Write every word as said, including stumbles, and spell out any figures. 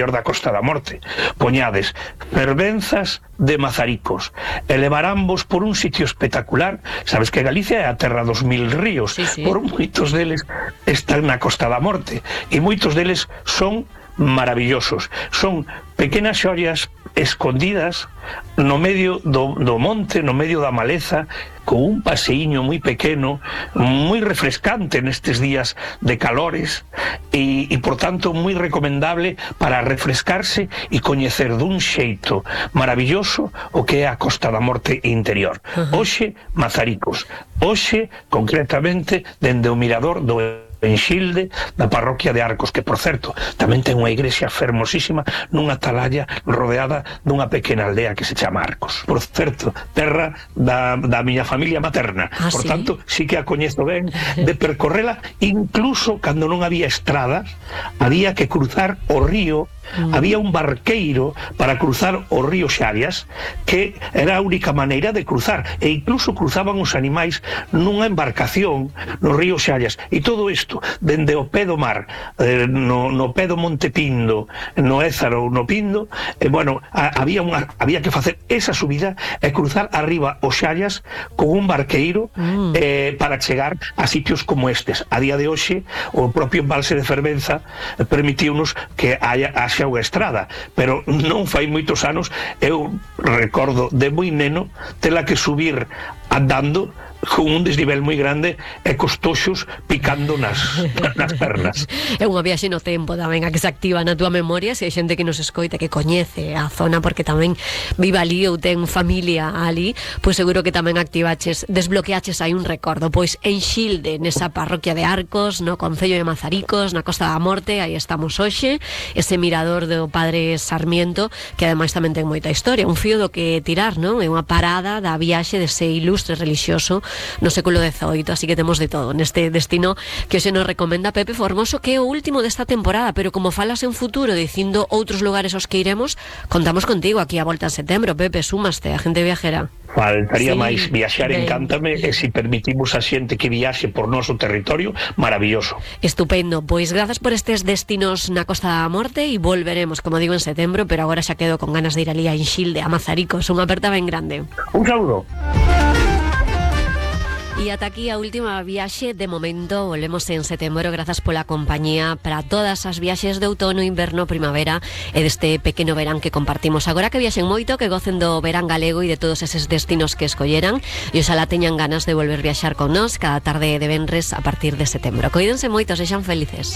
da Costa da Morte. Poñades fervenzas de Mazaricos, elevarambos por un sitio espectacular. Sabes que Galicia é a terra dos mil ríos, sí, sí. Por moitos deles están na Costa da Morte, e moitos deles son maravillosos. Son pequenas xollas escondidas no medio do, do monte, no medio da maleza, con un paseíño moi pequeno, moi refrescante nestes días de calores, e, e por tanto moi recomendable para refrescarse e coñecer dun xeito maravilloso o que é a Costa da Morte interior. Uh-huh. Hoxe, Mazaricos. Hoxe, concretamente, dende o mirador do en Xilde, da parroquia de Arcos, que, por certo, tamén ten unha igrexa fermosísima nunha atalaya rodeada dunha pequena aldea que se chama Arcos. Por certo, terra da, da miña familia materna. Ah, por ¿sí? tanto, sí que a coñezo ben de percorrela, incluso cando non había estradas, había que cruzar o río. Mm. Había un barqueiro para cruzar o río Xarias, que era a única maneira de cruzar, e incluso cruzaban os animais nunha embarcación no río Xarias, e todo isto dende o pé do mar, eh, no, no pé do Monte Pindo, no Ézaro ou no Pindo. E, bueno, a, había, unha, había que facer esa subida e cruzar arriba o Xarias con un barqueiro mm. eh, para chegar a sitios como estes. A día de hoxe, o propio embalse de Fervenza permitiunos que haya xa unha estrada, pero non fai moitos anos. Eu recordo de moi neno tela que subir andando con un desnivel moi grande e cos toxos picando nas, nas pernas. É unha viaxe no tempo tamén a que se activa na túa memoria, se hai xente que nos escoita que coñece a zona porque tamén vive ali ou ten familia ali, pois seguro que tamén activaches, desbloqueaches aí un recordo. Pois en Xilde, nesa parroquia de Arcos, no concello de Mazaricos, na Costa da Morte, aí estamos hoxe, ese mirador do Padre Sarmiento, que ademais tamén ten moita historia, un fío do que tirar, non? É unha parada da viaxe dese ilustre relixioso no século dezoito, así que temos de todo neste destino que hoxe nos recomenda Pepe Formoso, que é o último desta temporada, pero como falas en futuro dicindo outros lugares aos que iremos, contamos contigo aquí a volta en setembro. Pepe, súmaste a Gente Viajera. Faltaría Sí, máis. Viaxar ben. encántame, e se permitimos a xente que viaxe por noso territorio, maravilloso. Estupendo, pois grazas por estes destinos na Costa da Morte, e volveremos, como digo, en setembro, pero agora xa quedo con ganas de ir ali a Xilde, a Mazaricos. Unha aperta ben grande. Un saúdo. E ata aquí a última viaxe de momento. Volvemos en setembro. Grazas pola compañía para todas as viaxes de outono, inverno, primavera e deste pequeno verán que compartimos. Agora que viaxen moito, que gocen do verán galego e de todos eses destinos que escolleran, e oxalá teñan ganas de volver viaxar con nós cada tarde de venres a partir de setembro. Coídense moito, sexan felices.